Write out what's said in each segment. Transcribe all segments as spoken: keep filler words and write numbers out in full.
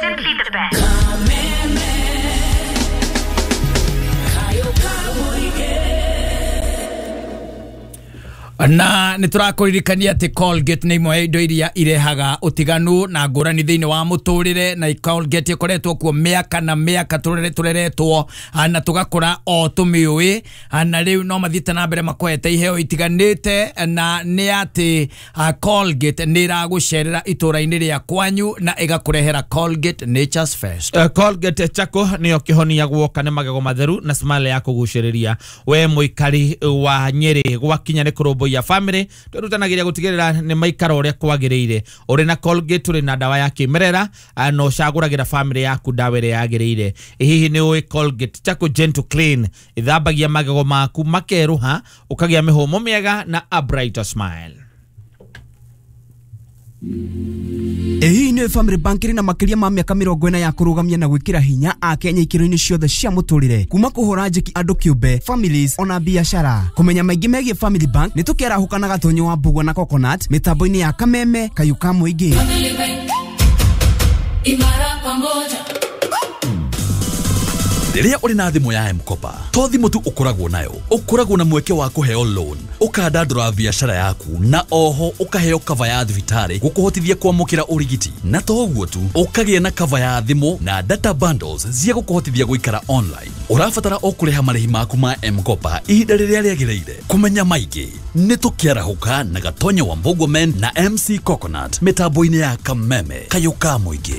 Simply the best. Na nä tå rakåririkania atä Colgate nä imwe ya indo iria irehaga ũtiganu na ngũrani thĩinĩ wa mũtũrĩre, na Colgate ĩkoretwo kuo mĩaka na mĩaka tũreretwo na tũgakũra o tũmĩũĩ, na rĩu no mathiĩte na mbere makoete iheo itiganĩte, na nĩ atĩ Colgate nĩ ĩragũcerera itũra-inĩ rĩa kwanyu na ĩgakũrehera Colgate Nature's First. Uh, Colgate chako nĩyo kĩhonia guoka nĩ magego matheru na smile ya kũgucĩrĩria. We mũikari wa Nyĩrĩ gwakinya nĩ kũrũmbũiya ya family twĩrutanagiria gũtigĩrĩra nĩ maikara ũrĩa kwagĩrĩire. Ũrĩ na Colgate ũrĩ na ndawa ya kĩmerera na ũcagũragĩra family yaku ndawa ĩrĩa yagĩrĩire. Hihi nĩ ũĩ Colgate Charcoal Gentle Clean ĩthambagia magego maku makerũha ũkagĩa mĩhũmũ mĩega na a brighter smile. Ĩĩ nĩ Family Bank ĩrĩ na makĩria ma mĩaka mĩrongo ĩna ya kũrũgamia na gwĩkĩra hinya Akenya ikĩro-inĩ ciothe cia mũtũrĩre, kuma kũhũra njeki andũ kĩũmbe, families ona biashara. Kũmenya maingĩ megiĩ Family Bank nĩ tũkĩarahũka na Gatonyo wa Mbugua na Coconut mĩtambo-inĩ ya Kameme Kayũ ka Mũingĩ. Imara pamoja. Rĩrĩa ũrĩ na thimũ ya M-Kopa, to thimũ tu ũkoragwo nayo, ũkoragwo na mweke wa kũheo loan, ũkandandũra biacara yaku, na oho ũkaheo cover ya thibitarĩ gũkũhotithia kwamũkĩra ũrigiti. Na to ũguo tu, ũkagĩa na cover ya thimũ na data bundles cia gũkũhotithia gũikara online. Ũrabatara o kũrĩha marĩhi maku ma M-Kopa ihinda rĩrĩa rĩagĩrĩire. Kũmenya maingĩ nĩ tũkĩarahũka na Gatonyo wa Mbugua Men na M C Coconut mĩtambo-inĩ ya Kameme Kayũ ka Mũingĩ.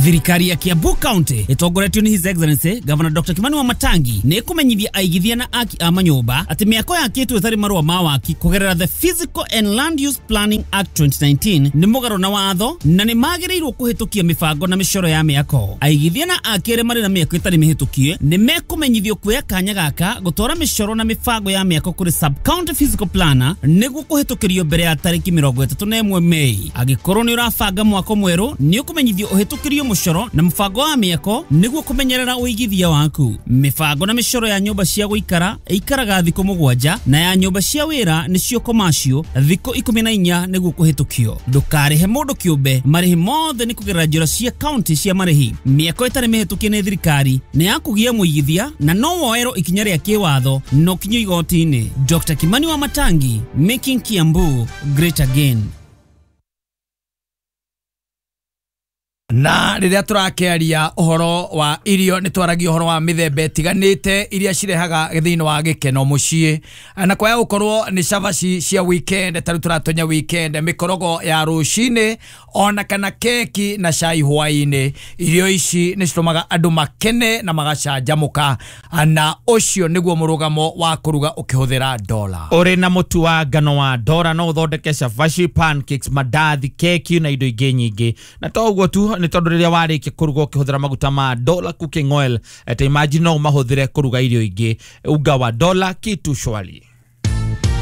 Thirikari ya Kiambu County ĩtongoretio nĩ His Excellency Governor Doctor Kimani Wamatangi nĩ ĩkũmenyithia aigithia na aki a manyũmba atĩ mĩako yakĩtwo ĩtarĩ marũa ma waki kũgerera the Physical and Land Use Planning Act twenty nineteen nĩ mũgarũ na watho na nĩ magĩrĩirwo kũhĩtũkia mĩbango na mĩcoro ya mĩako. Aigithia na aki arĩa marĩ na mĩako ĩtarĩ mĩhĩtũkie nĩ mekũmenyithio kuoya kanya gaka gũtwara mĩcoro na mĩbango ya mĩako kũrĩ sub county physical planner nĩguo kũhĩtũkĩrio mbere ya tarĩki mĩrongo ĩtatũ na ĩmwe Mei. Angĩkorwo nĩ ũrabanga mwako mwerũ nĩ ũkũmenyithio ũhĩtũkĩrio mũcoro na mũbango wa mĩako nĩguo kũmenyerera ũigithia waku. Mĩbango na mĩcoro ya nyũmba cia gũikara ĩikaraga thikũ mũgwanja na ya nyũmba cia wĩra nĩcio commercial thikũ ikũmi na inya nĩguo kũhĩtũkio. Ndũkarĩhe mũndũ kĩũmbe, marĩhi mothe nĩ kũgerera njĩra cia county cia marĩhi. Mĩako ĩtarĩ mĩhĩtũkie nĩ thirikari nĩ ya kũgia mũigithia na no woerwo ikinya rĩa kĩwatho no kinyo igoti-inĩ. Doctor Kimani Wamatangi, making Kiambu great again. Na rĩrĩa tũrakĩaria ũhoro wa irio nĩ twaragia ũhoro wa mĩthemba ĩtiganĩte iria cirehaga thĩinĩ wa gĩkeno mũciĩ, na kwaya gũkorwo nĩ cabaci cia weekend ta rĩu tũratonya weekend, mĩkorogo ya rũcinĩ ona kana keki na cai hwaĩ-inĩ. Irio ici nĩ citũmaga andũ makene na magacanjamũka, na ũcio nĩguo mũrũgamo wa kũruga ũkĩhũthĩra dola. Ũrĩ na mũtu wa ngano wa Dora no ũthondeke cabaci, pancakes, mandathi, keki na indo ingĩ nyingĩ. Na to ũguo tu, nĩ tondũ rĩrĩa warĩkia kũruga ũkĩhũthĩra maguta ma Dola cooking oil, ta imagine no ũmahũthĩre kũruga irio ingĩ. Unga wa Dola kitu shwari.